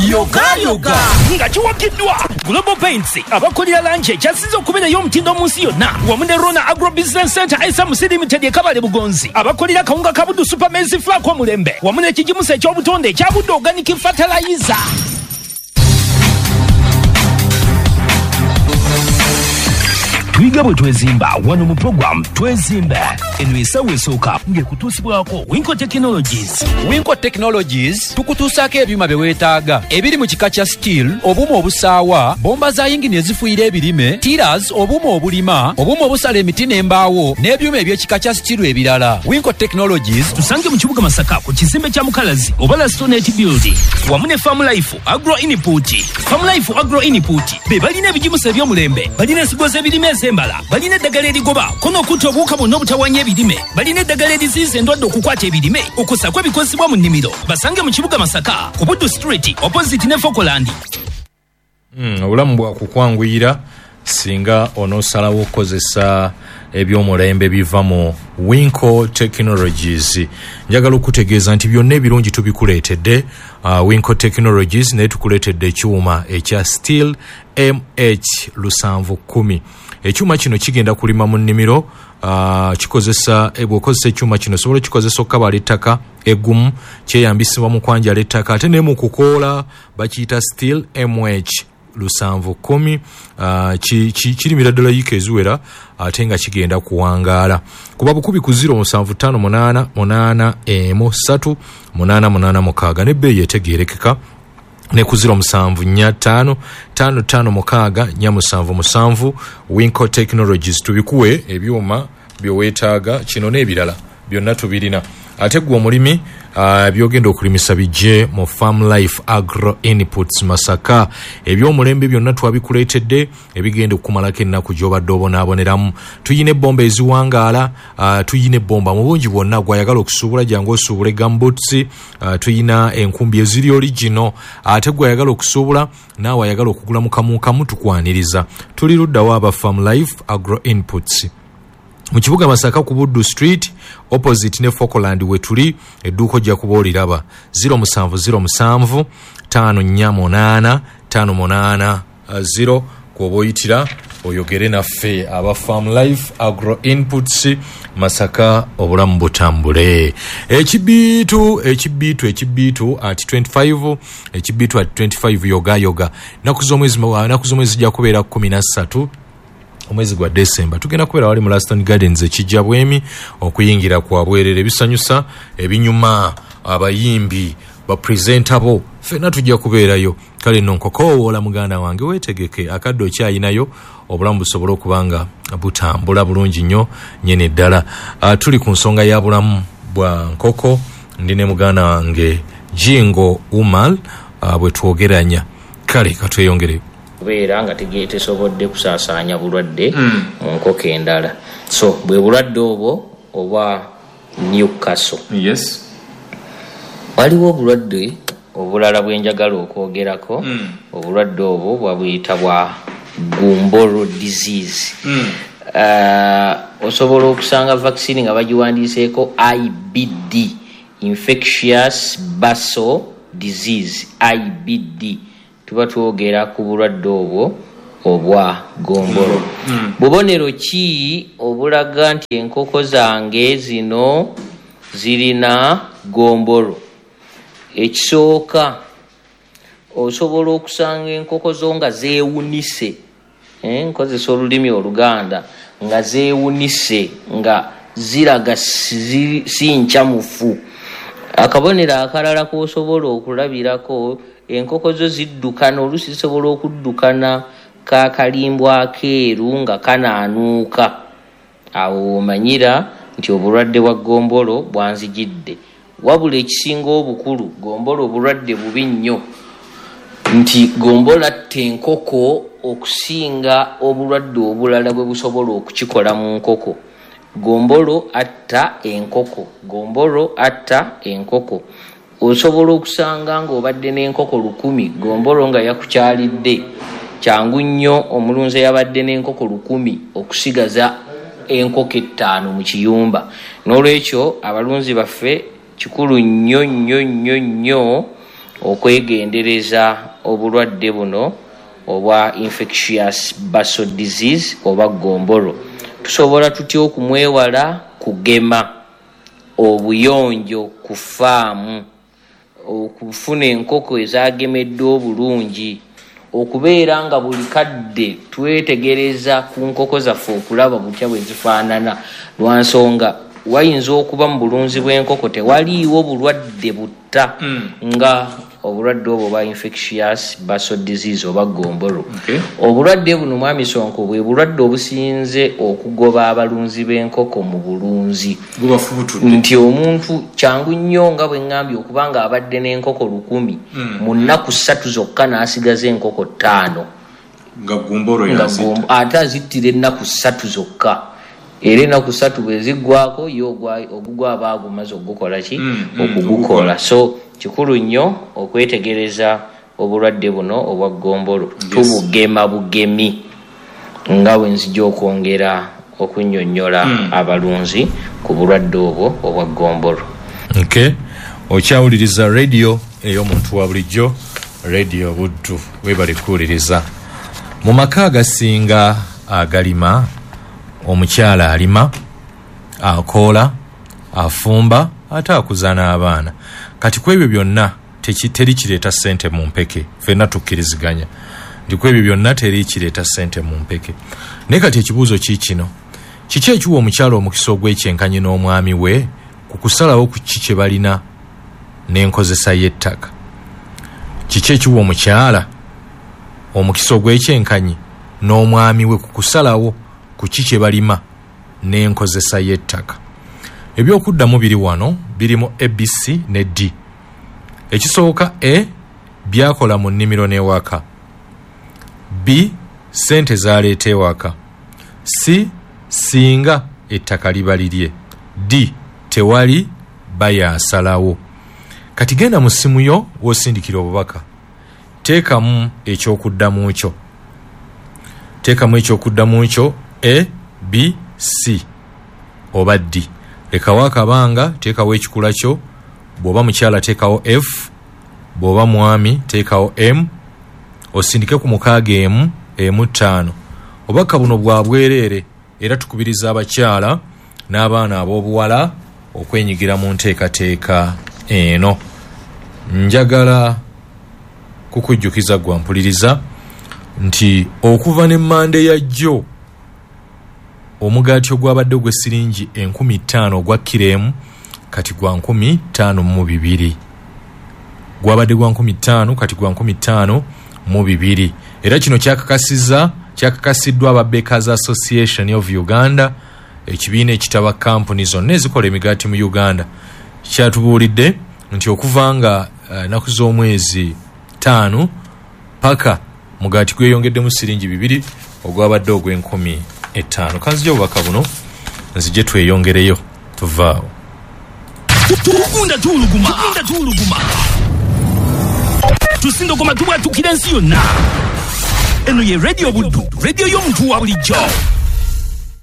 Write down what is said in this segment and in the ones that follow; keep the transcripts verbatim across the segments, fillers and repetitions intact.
Yogayoga nga kiwagiddwa Global Paints, abakolera langi ekyasinze okubeerayo omutindo mu nsi yonna, wamu ne Rona Agro Business Center S M C Limited e Kabale Bugonzi, abakolera kawunga ka Buddu Super Maize Flour omulembe, wamu n'ekigimusa eky'obutonde ekya Buddu Organic Fertilizer. Tuyiga bwe twezimba wano mu program Twezimbe. Eno esawa esooka ng'ekutuusibwako Winco Technologies. Winco Technologies tukutuusaako ebyuma bye weetaaga ebiri mu kika kya steel, obuuma obusaawa, bomba za yingini ezifuyira ebirime, tillers, obuuma obulima, obuuma obusala emiti n'embaawo, n'ebyuma eby'ekika kya steel ebirala. Winco Technologies. Tusange mu kibuga Masaka ku kizimbe kya Mukalazi oba Lastonet Building, wamu ne Farm Life Agro Input. Farm Life Agro Input be balina ebigimusa eby'omulembe, balina ensigo z'ebirime ez'embala, balina eddagala erigoba kono okutta obuwuka bwonna obutawanya ebirime, balina eddagala eriziyiza endwadde okukwata ebirime, okusako ebikozesebwa mu nnimiro. Basange mu kibuga Masaka ku Buddu Street opposite ne Fokoland. Mm, obulamu bwakukwanguyira singa onoosalawo okukozesa ebyomulembe biva mu Winco Technologies. Njagala okutegeeza nti byonna ebirungi tubikuleetedde uh, Winco Technologies, naye tukuleetedde ekyuma ekya Steel M H lusanvu kumi. Ekyuma kino kigenda kulima mu nnimiro. uh, kikozesa eh, bw'okozesa ekyuma kino osobola okikozesa okukabala ettaka eggumu, kyeyambisibwa mu kwanjala ettaka ate ne mu kukoola. Bakiyita Steel M H lusanvu kumi. uh, ki, ki, kirimira ddala yiika eziwera ate nga kigenda kuwangaala. Kuba bukubi ku zero musanvu ttaano munaana munaana emu ssatu munaana munaana mukaaga n'ebbeeyi etegeerekeka, ne ku zero musanvu nnya ttaano ttaano ttaano mukaaga nnya musanvu musanvu. Winco Technologies, tubikuwe ebyuma byeweetaaga, kino n'ebirala byonna tubirina. Ate gwe omulimi, uh, byogenda okulimisa bijje mu Farm Life Agro Inputs Masaka. Ebyomulembe byonna twabikuleetedde ebigenda okumalako ennaku gy'obadde obonaaboneramu. Tuyina ebbomba eziwangaala, uh, tuyina ebbomba mu bungi bwonna. Gwayagala okusuubula, jangu osuubule gumboots. uh, tuyina enkumbi eziri original. Ate gwayagala okusuubula, naawe ayagala okugula mu kamukamu, tukwaniriza. Tuli luddawo aba Farm Life Agro Inputs? Mu kibuga Masaka ku Buddu Street opposite ne Fokoland wetuli. Edduuka ojja kuba oliraba. zero musanvu zero musanvu ttaano nnya munaana ttaano munaana zero kwoba oyitira oyogere naffe aba Farm Life Agro Inputs Masaka, obulamu butambule. Ekibiitu, ekibiitu, ekibiitu at twenty-five, ekibiitu at twenty-five, yoga yoga. Naku z'omwezi naku z'omwezi zijja kubeera kkumi na ssatu omwezi gwa Desemba. Tugenda kubeera wali mu Laston Gardens ekijja bwemi, okuyingira kwa bwerere, ebisanyusa, ebinyuma, abayimbi, bapresenta bo ffenna tujja kubeerayo. Kale nno nkokowoola muganda wange, weetegeke, akadde okyayinayo, obulamu busobole okuba nga butambula bulungi nnyo nyini ddala. uh, tuli ku nsonga ya bulamu bwa nkoko. Ndi ne muganda wange Jingo Umal, uh, bwe twogeranya. Kale katweyongere. Kubeera nga tege- tesobodde kusaasaanya bulwadde mu nkoko endala. So bwe bulwadde obwo obwa Newcastle. Yes waliwo obulwadde obulala bwenjagala okwogerako. Obulwadde obwo bwabuyita bwa Gumboro disease. Uh, osobola okusanga vaccine nga bagiwandiiseeko I B D, infectious bursal disease, I B D. Tuba twogera ku bulwadde obwo obwa gombolo. Bubonero ki obulaga nti enkoko zange zino zirina gombolo? Ekisooka, osobola okusanga enkoko zo nga zeewunise. Eh, nkozesa olulimi Oluganda, nga zeewunise, nga ziraga si si nkyamufu. Akabonero akalala k'osobola okulabirako, enkoko zo ziddukana, oluusi zisobola okuddukana kakalimbwa akeeru nga kanaanuuka. Awo w'omanyira nti obulwadde bwa gombolo bwanzijidde. Wabula ekisinga obukulu, gombolo obulwadde bubi nnyo, nti gombolo atta enkoko okusinga obulwadde obulala bwe busobola okukikola mu nkoko. Gombolo atta enkoko, gombolo atta enkoko. Osobola okusanga ng'obadde n'enkoko lukumi, gombolo nga yakukyalidde. Kyangu nnyo omulunzi eyabadde n'enkoko lukumi okusigaza enkoko ettaano mu kiyumba. N'olwekyo abalunzi baffe, kikulu nnyo nnyo nnyo nnyo Okwegendereza obulwadde buno obwa infectious bursal disease oba gombolo. Tusobola tutya okumwewala? Kugema, obuyonjo ku faamu, okufuna enkoko ezagemeddwa obulungi, okubeera nga buli kadde twetegereza ku nkoko zaffe okulaba butya bwe zifaanana. Lwa nsonga wayinza okuba mu bulunzi bw'enkoko tewaliiwo bulwadde butta nga obulwadde obwo bwa infectious bursal disease oba gombolo. Okay. Obulwadde buno, mwami Sonko, bwe bulwadde obusinze okugoba abalunzi b'enkoko mu bulunzi, Gubafubutudde. nti omuntu kyangu nnyo, nga bwe ŋŋambye, okuba nga abadde n'enkoko lukumi, mu nnaku ssatu zokka n'asigaza enkoko ttaano. Nga gumbolo Nga yazitta. gombo- ate azittira ennaku ssatu zokka, era ennaku ssatu bwe ziggwako, ye ogwa- ogugwa aba agumaze okugukola ki? Mm, mm, Okugukola. So kikulu nnyo okwetegereza obulwadde buno obwa gombolo. Tubugema bugemi, nga bwe nzija okwongera okunnyonnyola abalunzi ku bulwadde obwo obwa gombolo. Okay. Okyawuliriza radio ey'omuntu wa bulijjo, Radio Buddu. Webale kuwuliriza. Mu maka agasinga agalima, omukyala alima, akoola, afumba, ate akuza n'abaana. Kati ku ebyo byonna teki- teri kireeta ssente mu mpeke. Ffenna tukkiriziganya nti ku ebyo byonna teri kireeta ssente mu mpeke. Naye kati ekibuuzo kiikino: kiki ekiwa omukyala omukisa ogw'ekyenkanyi n'omwami we ku kusalawo ku ki kye balina n'enkozesa y'ettaka? Kiki ekiwa omukyala omukisa ogw'ekyenkanyi n'omwami we ku kusalawo ku ki kye balima n'enkozesa y'ettaka? Ebyokuddamu biri wano, birimu A B C ne D. Ekisooka, A, byakola mu nnimiro n'ewaka; B, ssente zaleeta ewaka; C, singa ettaka liba lirye; D, tewali bayaasalawo. Kati genda mu ssimu yo w'osindikira obubaka, teekamu ekyokuddamu kyo, teekamu ekyokuddamu kyo, A, B, C oba D. Lekawo akabanga, teekawo ekikula kyo. Bw'oba mukyala teekawo F, bw'oba mwami teekawo M, osindike ku mukaaga emu emu ttaano. Obubaka buno bwa bwereere, era tukubiriza abakyala n'abaana ab'obuwala okwenyigira mu nteekateeka eno. Njagala kukujjukiza gwa mpuliriza nti okuva ne Mande ya jjo, omugaati ogwabadde ogw'essiringi enkumi ttaano ogwa kiro emu kati gwa nkumi ttaano mu bibiri. Gwabadde gwa nkumi ttaano, kati gwa nkumi ttaano mu bibiri. Era kino kyakakasizza kyakakasiddwa aba Bakers Association of Uganda, ekibiina ekitaba kampuni zonna ezikola emigaati mu Uganda. Kyatubuulidde nti okuva nga ennaku z'omwezi ttaano paka mugaati gweyongeddemu siringi bibiri ogwabadde ogw'enkumi etaano. Kanzija obubaka buno, nzije tweyongereyo, tuvaawo. Tugunda tuwuluguma, tugunda tuwuluguma, tusindogoma, tubwatukira ensi yonna. Eno ye Radio Buddu, radio y'omuntu wa bulijjo.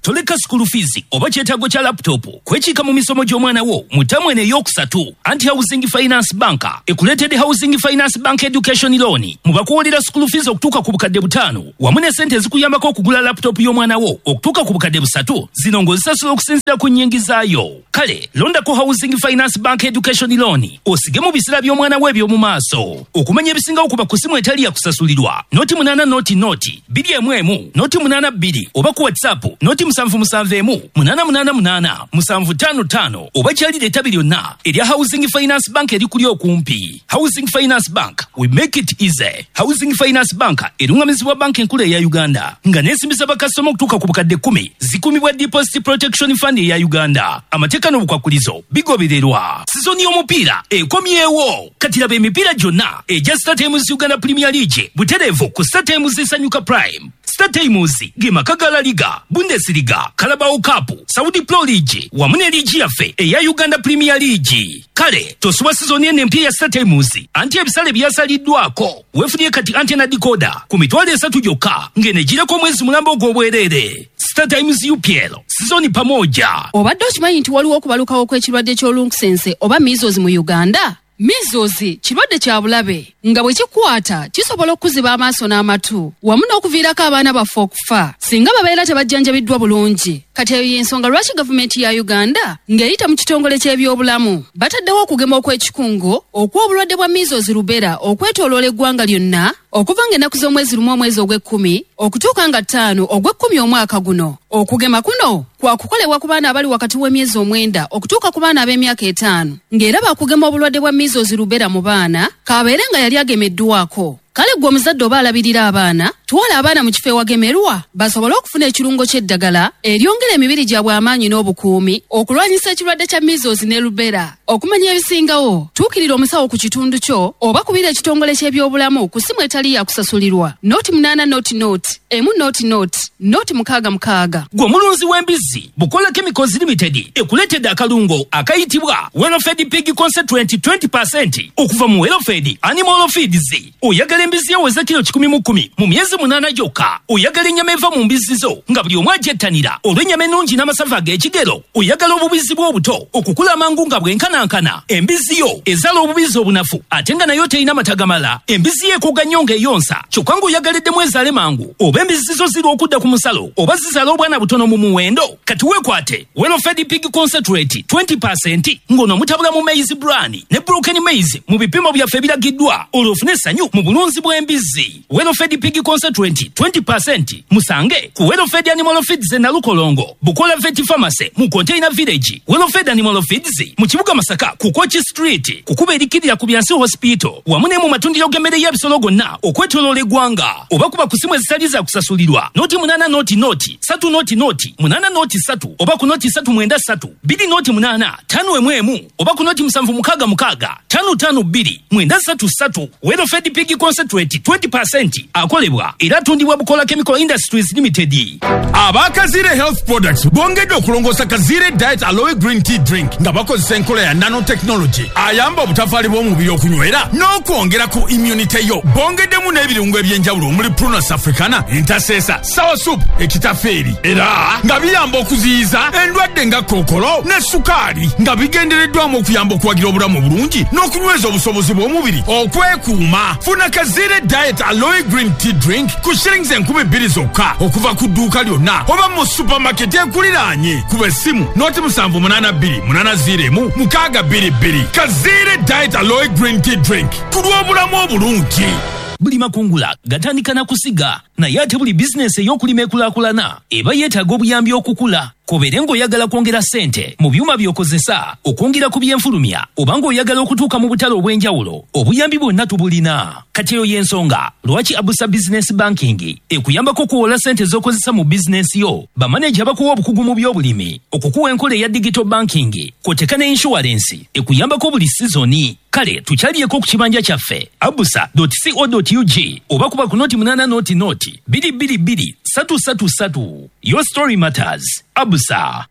Toleka school fees oba kyetaago kya laptop kwekiika mu misomo gy'omwana wo mu ttamu eno ey'okusatu. Anti Housing Finance Bank ekuleetedde Housing Finance Bank Education Loan, mu bakuwolera school fees okutuuka ku bukadde butaano, wamu ne sente ezikuyambako okugula laptop y'omwana wo okutuuka ku bukadde busatu, zino ng'ozisasula okusinziira ku nnyingizaayo. Kale londako Housing Finance Bank Education Loan osige mu biseera by'omwana wo eby'omu maaso. Okumanya ebisingawo, kuba ku simu etali yakusasulirwa noti munaana noti noti bbiri emu emu noti munaana bbiri, oba ku WhatsApp noti musanvu musanvu emu munaana munaana munaana musanvu ttaano ttaano, oba kyalira ettabi lyonna erya Housing Finance Bank erikuli okumpi. Housing Finance Bank, we make it easy. Housing Finance Bank erungamizibwa Banka Enkulu eya Uganda, nga n'ensimbi bakasitoma okutuuka ku bukadde kkumi zikumibwa Deposit Protection Fund eya Uganda. Amateeka n'obukwakulizo bigobererwa. Sizoni y'omupiira ekomyewo. Kati laba emipiira gyonna egya StarTimes Uganda Premier League butereevu ku StarTimes Sanyuka Prime. StarTimes ge maka ga La Liga, Bundesliga, Carabao Cup, Saudi Pro League wamu ne liigi yaffe eya Uganda Premier League. Kale tosubwa sizoni eno empya ya StarTimes, anti ebisale byasaliddwako. Weefunye kati antenna decoder ku mitwalo esatu gyokka, ng'eno egireko omwezi mulamba ogw'obwereere. StarTimes U P L sizoni pamoja. Obadde okimanyi nti waliwo okubalukawo kw'ekirwadde ky'olunkusense oba measles mu Uganda? Measles kirwadde kya bulabe nga bwe kikwata kisobola okuziba amaaso n'amatu wamu n'okuviirako abaana baffe okufa singa babeera tebajjanjabiddwa bulungi. Kati eyo y'ensonga lwaki gavumenti ya Uganda ng'eyita mu kitongole ky'ebyobulamu bataddewo okugema okw'ekikungo okw'obulwadde bwa measles rubella okwetooloola eggwanga lyonna okuva ng'ennaku z'omwezi lumu omwezi ogw'ekkumi okutuuka nga ttaano ogw'ekkumi omwaka guno. Okugema kuno kwakukolebwa ku baana abali wakati w'emyezi omwenda okutuuka ku baana ab'emyaka etaano ng'era baakugema obulwadde bwa measles rubella mu baana kabeere nga yali agemeddwako. Kale ggwe omuzadde oba alabirira abaana, twala abaana mu kifo ewagemerwa basobole okufuna ekirungo ky'eddagala eryongera emibiri gyabwe amaanyi n'obukuumi okulwanyisa ekirwadde kya measles ne rubella. Okumanya ebisingawo, tuukirira omusawo ku kitundu kyo oba kubira ekitongole ky'ebyobulamu ku ssimu etali ya kusasulirwa noti munaana noti noti emu noti noti noti mukaaga mukaaga. Gwe omulunzi w'embizzi, Bukola Chemicals Limited ekuleetedde akalungo akayitibwa Welfed Pig Concentrate twenty percent okuva mu Welfed Animal Feeds. Oyagala embizzi eweza kilo kikumi mu kkumi mu myezi munaana gyokka. Oyagala ennyama eva mu mbizzi zo nga buli omu agyettanira olw'ennyama ennungi n'amasavu ag'ekigero. Oyagala obubizzi bw'obuto okukula amangu nga bwenkanankana. Embizzi yo ezaala obubizzi obunafu ate nga nayo terina mata gamala. Embizzi yo ekoga nnyo ng'eyonsa kyokka ng'oyagaliddemu ezaale mangu, oba embizzi zo zirwa okudda ku musalo oba zizaala obwana butono mu muwendo. Kati weekwate Welfed Pig Concentrate twenty percent ng'ono mutabula mu maize bran ne broken maize mu bipimo byaffe ebiragiddwa olwo ofune essanyu mu bulunzi bw'embizzi. Welfed Pig Concentrate twenty percent musange ku Welfed Animal Feeds e Nalukolongo, Bukola Vet Pharmacy mu Container Village, Welfed Animal Feeds mu kibuga Masaka ku Kochi Street, kukuba erikirira ku Byansi Hospital wamu ne mu matundiro g'emmere y'ebisolo gonna okwetooloola eggwanga, oba kuba ku simu ezitali za kusasulirwa noti munaana noti noti satu noti noti munaana noti satu oba ku noti satu mwenda satu bbiri noti munaana tano emu emu oba ku noti musanvu mukaaga mukaaga tano tano bbiri mwenda satu satu. Welfed Pig Concentrate twenty percent akolebwa era atundibwa Bukola Chemical Industries Limited. Aba Kazire Health Products bongedde okulongoosa Kazire Diet Aloe Green Tea Drink nga bakozesa enkola ya nanotechnology ayamba obutafaali bw'omubiri okunywera n'okwongera ku immunity yo. Bongeddemu n'ebirungo eby'enjawulo omuli Prunus africana, entasesa, sour soup, ekitafeeri era nga biyamba okuziyiza endwadde nga kookolo ne sukaali nga bigendereddwamu okuyamba okuwagira obulamu obulungi n'okunyweza obusobozi bw'omubiri okwekuuma. Funa Kazire Diet Aloe Green Tea Drink ku shillings enkumi bbiri zokka okuva ku dduuka lyonna oba mu supermarket ekuliraanye. Kuba essimu noti musanvu munaana bbiri munaana ziro emu mukaaga bbiri bbiri. Kazire Diet Aloe Green Tea Drink ku lw'obulamu obulungi. Buli makungula gatandika na kusiga, naye ate buli bizinesi ey'okulima ekulaakulana eba yeetaaga obuyambi okukula. Kobeere ng'oyagala kwongera ssente mu byuma by'okozesa, okwongera ku byenfulumya, oba ng'oyagala okutuuka mu butale obw'enjawulo, obuyambi bwonna tubulina. Kati eyo y'ensonga lwaki Abusa Business Banking ekuyambako okuwola ssente z'okozesa mu bizinesi yo. Bamaneja bakuwa obukugu mu by'obulimi, okukuwa enkola eya digital banking, kw'oteeka ne insurance ekuyambako buli sizoni. Kale tukyaliyeko ku kibanja kyaffe abusa dot co dot ug oba kuba ku noti munaana noti noti bbiri bbiri bbiri satu satu satu. Your story matters. Abusa.